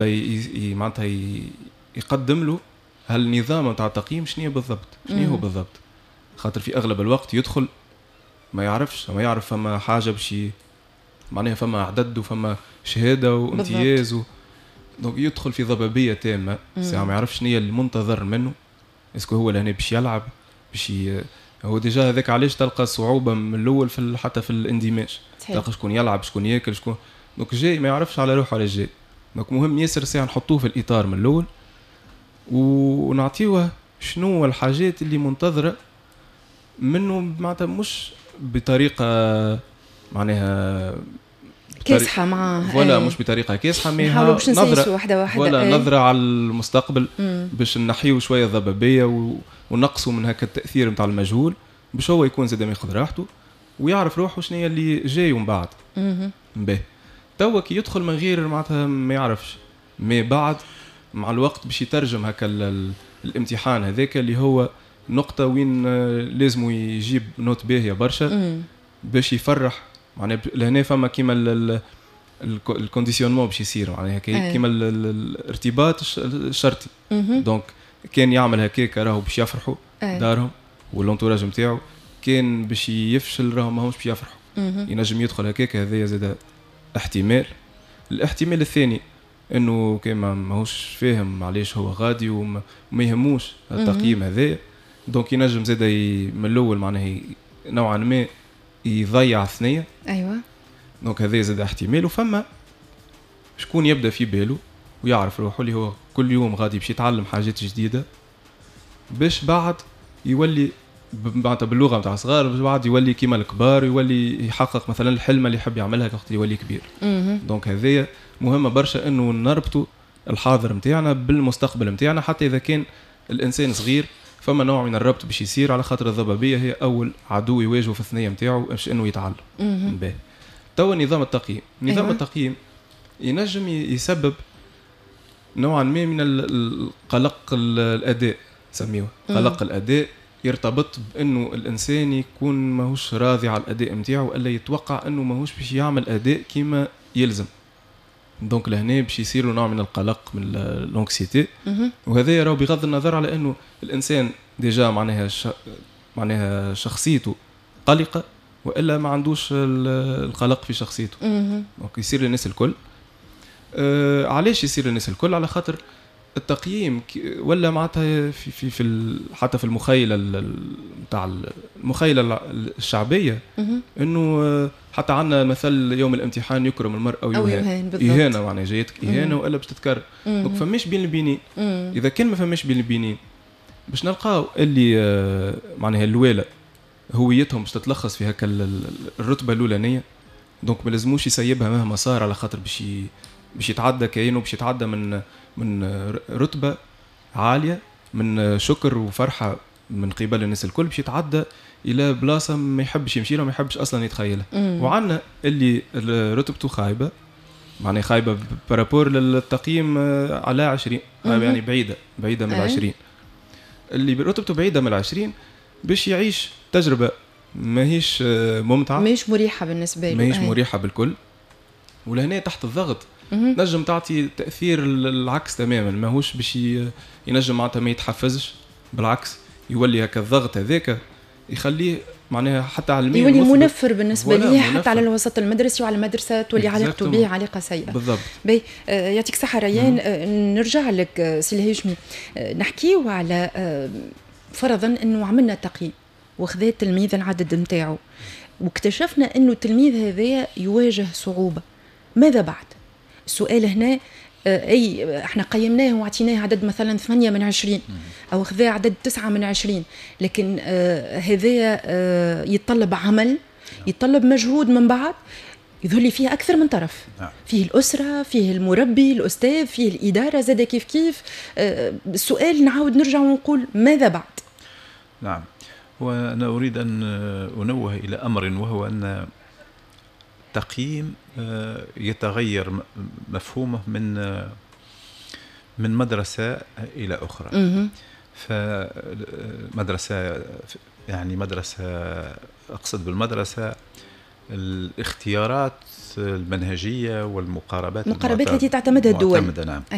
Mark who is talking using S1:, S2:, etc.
S1: معناتها يقدم له هالنظام نتاع التقييم شنو بالضبط، شنو هو بالضبط، خاطر في اغلب الوقت يدخل ما يعرفش، ما يعرف فما حاجة باش معناها فما عدد وفما شهادة وامتياز donc يدخل في ضبابية تامة، ساعة ما يعرفش شنو هي المنتظر منه، est-ce que هو لهنا باش يلعب باش هو déjà هذاك علاش تلقى صعوبة من الاول حتى في الاندماج، تلقى شكون يلعب شكون ياكل شكون، donc جاي ما يعرفش على روحه علاش جاي. donc مهم ياسر ساعة نحطوه في الاطار من الاول ونعطيوه شنو الحاجات اللي منتظره منه، معناتها مش بطريقة معناها
S2: كاسحه معاه
S1: ولا مش بطريقة كاسحه،
S2: mais نحاولوا باش نسيسوا واحدة واحدة
S1: ولا نظره على المستقبل باش نحيو شوية الضبابيه ونقصوا من هكا التاثير نتاع المجهول، باش هو يكون زاد ياخذ راحته ويعرف روحه شنو هي اللي جاي ومن بعد. باهي توا كي يدخل من غير معناتها ما يعرفش، mais بعد مع الوقت باش يترجم هكا الامتحان هذاك اللي هو نقطة وين لازم يجيب note باهية برشا باش يفرح، معناها لهنا فما كيما ال conditionnement باش يصير، معناها كيما الارتباط الشرطي. donc كان يعمل هكاك راهو باش يفرحوا دارهم وال entourage نتاعو، كان باش يفشل راهو ماهوش باش يفرحوا. ينجم يدخل هكاك، هذايا زاد احتمال. الاحتمال الثاني انه كان ماهوش فاهم علاش هو غادي وما يهموش التقييم هذايا، donc ينجم زاد من الاول معناها نوعا ما يضيع ثنيه. Donc هذا زاد احتمال. وفما شكون يبدا في باله ويعرف روحه اللي هو كل يوم غادي باش يتعلم حاجات جديدة باش بعد يولي معناتها باللغة نتاع صغار، باش بعد يولي كيما الكبار، يولي يحقق مثلا الحلم اللي يحب يعملها وقت يولي كبير. donc هذايا مهمة برشا انه نربطوا الحاضر نتاعنا بالمستقبل نتاعنا، حتى اذا كان الانسان صغير فما نوع من الربط باش يصير، على خاطر الضبابيه هي اول عدو يواجهه في الثنية نتاعو باش انه يتعلم. باهي توا نظام التقييم، نظام التقييم ينجم يسبب نوعا ما من القلق الاداء، سميوه قلق الاداء، يرتبط بانه الانسان يكون ماهوش راضي على الاداء نتاعو، الا يتوقع انه ماهوش باش يعمل اداء كيما يلزم. donc لهنا باش يصير له نوع من القلق، من l'anxiété، وهذا راهو بغض النظر على انه الانسان déjà معناها معناها شخصيته قلقه والا ما عندوش القلق في شخصيته. donc يصير للناس الكل. علاش يصير للناس الكل؟ على خاطر التقييم ولا معناتها في حتى في المخيله نتاع المخيله الشعبية انه حتى عندنا مثل يوم الامتحان يكرم المرء او يهان، اهانه معناها جايتك اهانه والا باش تتكرر. donc فماش بين البينين. اذا كان ما فماش بين البينين باش نلقاو اللي معناها الواله هويتهم باش تتلخص في هكا الرتبة الاولانية، donc ما لازموش يسيبها مهما صار، على خاطر باش يتعدى كاينه باش يتعدى من رتبه عالية من شكر وفرحه من قبل الناس الكل، باش يتعدى الى بلاصة ما يحبش يمشي لها، ما يحبش اصلا يتخيلها. وعندنا اللي رتبته خايبة، معناها خايبة par rapport للتقييم على 20، يعني بعيدة بعيدة من 20، اللي رتبته بعيدة من 20 باش يعيش تجربه ماهيش ممتعة،
S2: ماهيش مريحه بالنسبة له،
S1: ماهيش مريحه بالكل. ولهنا تحت الضغط نجم تعطي تاثير العكس تماما، ماهوش باش ينجم معناتها ما يتحفزش، بالعكس يولي هكا الضغط هذاك يخليه معناها حتى علميا
S2: يولي منفر بالنسبة ليه، حتى على الوسط المدرسي وعلى المدرسة تولي علاقته به علاقة سيئه.
S1: بالضبط.
S2: باهي يعطيك الصحة ريان. نرجع لك سي الهاشمي، نحكيو على فرضا انه عملنا تقييم وخذا التلميذ العدد نتاعو واكتشفنا انه التلميذ هذايا يواجه صعوبة، ماذا بعد؟ السؤال هنا اي احنا قيمناه وعطيناه عدد مثلا 8 من 20 او خذا عدد 9 من 20، لكن هذايا يتطلب عمل، يتطلب مجهود من بعد، يظهر لي فيه اكثر من طرف. فيه الاسرة، فيه المربي، الاستاذ، فيه الادارة زاد كيف كيف. السؤال نعاود نرجع ونقول ماذا بعد؟
S3: نعم، وانا اريد ان انوه الى امر، وهو ان التقييم يتغير مفهومه من مدرسة إلى أخرى. فمدرسة يعني مدرسة، أقصد بالمدرسة الاختيارات المنهجية والمقاربات
S2: المقاربات التي تعتمدها الدول.
S3: المعتمدة، نعم.